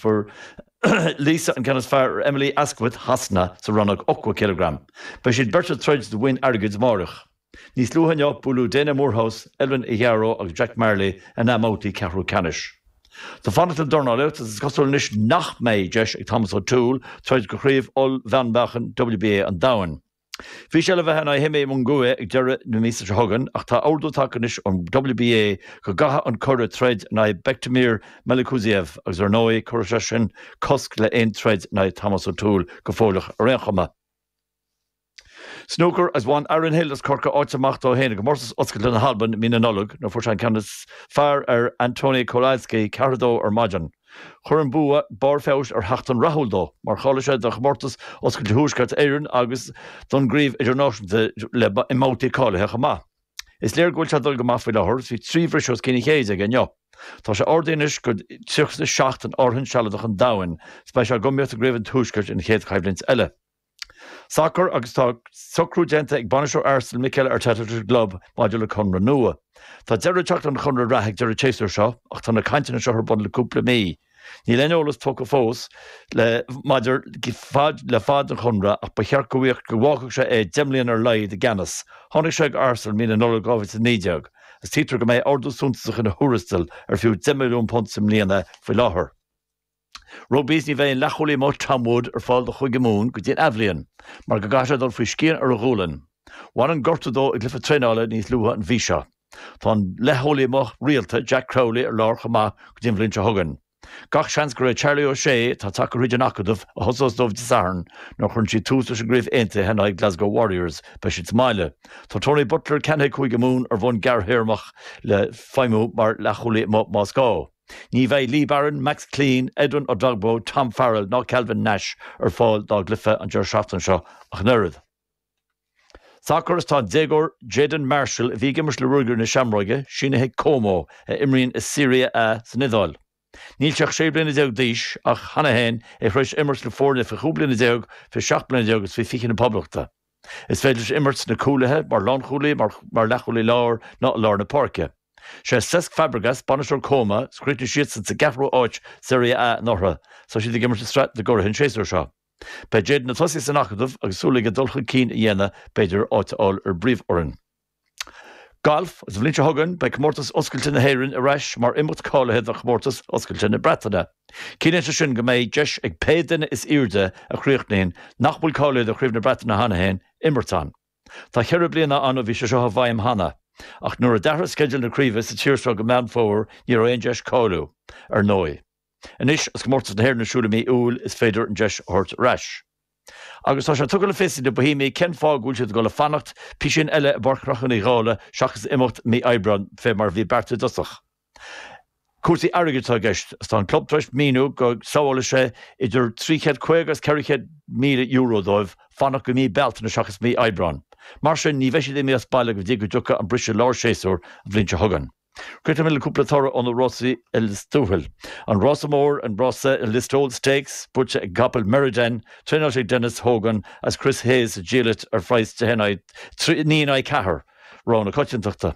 fuair Lisa an ceann is fearr ar Emily Asquith Shasana sa rannóg 80 cileagram. Beidh siad beirt ag troid do bhoinn airgid amáireach. Níos luaithe inniu, buaileadh Dana Moorhouse, Elvin Ighiaro agus Jack Marley ina mbabhtaí ceathrú ceannais. Tá fanacht le dornálaíocht agus is cosúil anois nach mbeidh deis ag Thomas O'Toole troid do chraobh ollmheánmheáchain WBA an domhain. Bhí sé le bheith in aghaidh Jaime Munguia ag deireadh na míosa seo chugainn ach tá ordú tagtha anois ón WBA go gcaithfidh an curadh troid in aghaidh Bektemir Melikuziev agus ar ndóigh cuirfidh sé sin cosc le aon troid in aghaidh Thomas O'Toole go fóilleach ar aon chuma. Snúcar agus bhain Aaron Hill as Corcaigh áit amach dó féin i gcomórtas Oscailte na hAlban i mí na Nollag nuair a fuair sé an ceann is fearr ar Antoni Kowalski, 4-2 ar maidin. Chuir an bua barr feabhais ar sheachtain rathúil dó, mar cháiligh sé do chomórtas Oscailte Thuaisceart Éireann agus don gCraobh Idirnáisiúnta le i mbabhtaí cáilithe chomh maith. Is léir go bhfuil sé ag dul go maith faoi láthair agus bhí 3 bhriseadh os cionn an chéid aige inniu. Tá sé ardaithe anois go 37 in áirithint sealadach an domhain is beidh sé ag iomaíocht i gCraobh an Tuaiscirt an chéad choimhlint eile. Sacar agus tá socrú déanta ag bainisteoir Arsenal Mikel Arteta leis an gclub maidir le conradh nua. Tá deireadh ag teacht lena chonradh reatha ag deireadh an tséasúir seo ach tá na cainteanna seo ar bun le cúpla mí. Níl aon eolas tugtha fós le maidir le fad an chonradh ach ba cheart go go bhfágfadh sé é 10 mbliana ar a laghad i gceannas. Tháinig sé ag Arsenal mí na Nollag 2019 agus tuigtear go mbeidh ardú suntasach ina thuarastal ar fiú £10 milliún sa mbliain é faoi láthair. Rugbaí Ní bheidh an leathchúlaí amuigh Tom Wood ar fáil do Chúige Mumhan go dtí an athbhliain mar go gcaithfidh sé dul faoi scian ar a ghualainn. Bhain an gortú dó i gcluiche traenála níos luaithe an mhí seo. Tá an leathchúlaí amuigh rialta Jack Crowley ar lár chomh maith go dtí an bhliain seo chugainn. Gach seans gur é Charlie O'Shea, atá tagtha thríd an acadamh, a thosós dóibh Dé Sathairn nuair a chuireann siad tús leis an gCraobh Aontaithe in aghaidh Glasgow Warriors. Beidh siad sa mbaile. Tá Tony Butler ceannaithe ag Cúige Mumhan ar bhonn gearrthéarmach le feidhmiú mar leathchúlaí amuigh más gá. Ní bheidh Lee Barron, Max Clean, Edwin Edogbo, Tom Farrell ná Calvin Nash ar fáil dá gcluiche an deireadh seachtaine seo ach an oiread. Sacar Is tá an déagóir Jayden Marshall, a bhí ag imirt le Ruagairí na Seamróige, sínithe ag Como, a imríonn i Serie A san Iodáil. Níl sé ach 16 bliana d'aois ach cheana féin é tar éis imirt le foirne faoi 15 bliana, faoi 17 bliana agus faoi 20 na Poblachta. Is féidir leis imirt sna cúlaithe, mar lánchúlaí, mar leathchúlaí láir ná i lár na páirce. Sé Cesc Fabregas bainisteoir Como is chríochnaigh siadsan sa gceathrú áit Serie A anuraidh. Tá siad ag imirt i Sraith na gCuradh an séasúr seo. Beidh Jayden ag tosaí san acadamh agus súil aige dul chun cinn a dhéanamh, b'fhéidir áit a fháil ar an bpríomhfhoireann. Galf, An bhliain seo chugainn beidh Comórtas Oscailte na hÉireann ar ais mar imeacht cáilithe do Chomórtas Oscailte na Breataine. Ciallaíonn sé sin go mbeidh deis ag pé duine is airde a chríochnaíonn nach bhfuil cáilithe do Chraobh na Breataine cheana féin imirt ann. Tá cheithre bliana ann ó bhí sé seo i bhfeidhm cheana, ach nuair a d'athraigh sceideal na craoibhe sa tír seo go Meán Fómhair ní raibh aon deis cáiliú, ar ndóigh. Anois, agus Comórtas na hÉireann ar siúl i mí Iúil, is féidir an deis a thabhairt ar ais. Agus tá sé tugtha le fios ag na Boihéamaigh cén fáth go bhfuil siad ag dul a fanacht písín eile i bPáirc Chnocán Uí Dhálaigh seachas imeacht mí Aibreáin fé mar a bhí beartaithe i dtosach. Cúrsaí airgid atá i gceist agus tá an club tar éis míniú go sábhálfaidh sé idir €350 agus €400,000 dóibh fanacht go mí Bealtaine seachas mí Aibreáin. Mar sin, ní bheidh siad imithe as baile go dtí go dtiocfaidh an briseadh lár séasúir an bhliain seo chugainn. Críochnóidh mé le cúpla toradh ó na rásaí i Lios Tuathail. An rása mór, an rása Listowel Stakes, buaite ag an gcapall Meriden, traenáilte ag Denis Hogan agus Chris Hayes a dhíol ar phraghas de 9 in aghaidh 4, rogha na coitiantachta.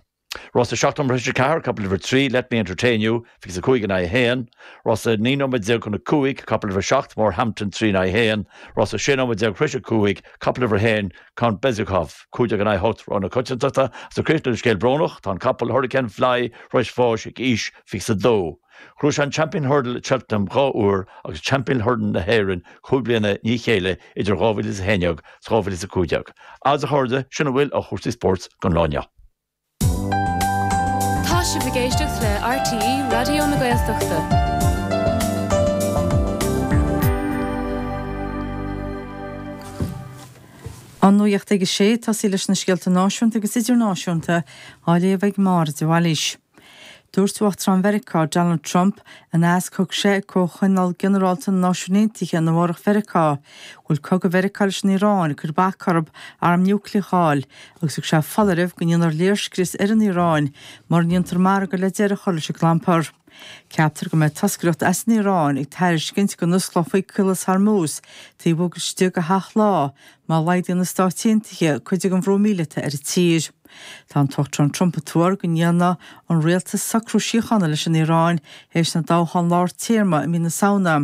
Rása 7 nóiméad tar éis 4, capall uimhir 3, Let Me Entertain You, 25 in aghaidh 1. Rása 19 nóiméad chun 5, capall uimhir 7, Morehampton, 3 in aghaidh 1. Rása 16 nóiméad tar éis 5, capall uimhir 1, Count Bezukhov, 15 in aghaidh 8, rogha na coitiantachta. Agus ag críochnú le scéal brónach, tá an capall Hurricane Fly tar éis bháis ag aois 22. Ghnóthaigh sé an Champion Hurdle at Cheltenham dhá uair agus Champion Hurdle na hÉireann chúig bliana i ndiaidh a chéile idir 2011 is 2015. Agus a chairde, sin a bhfuil ó chúrsaí spóirt don lá inniu. Tá sibh ag éisteacht le RTÉ Raidió na Gaeltachta. An nuacht ag a sé, tosaí leis na scéalta náisiúnta agus idirnáisiúnta á léamh ag Máire de Bhailís. Dúirt Uachtarán Mheiriceá, Donald Trump, in aitheasc a thug sé ag Comhthionól Ginearálta na Náisiún Aontaithe in Nua Eabhrac Mheiriceá, go bhfuil cogadh Mheiriceá leis an Iaráin ag cur bac orthu arm núicléach a fháil agus thug sé foláireamh go ndéanfar léirscrios ar an Iaráin mura ndéantar margadh le deireadh a chur leis an gclampar. Ceaptar go mbeidh toscaireacht as an Iaráin ag tairiscint go n-osclófaí Caolas Hormuz taobh istigh de sheacht lá má laghdaíonn na Stáit Aontaithe cuid den bhrú míleata ar an tír. Tá an tUachtarán Trump ag tuar go ndéanfaidh an rialtas socrú síochána leis an Iaráin théis na dtoghchán lár téarma i mí na Samhna.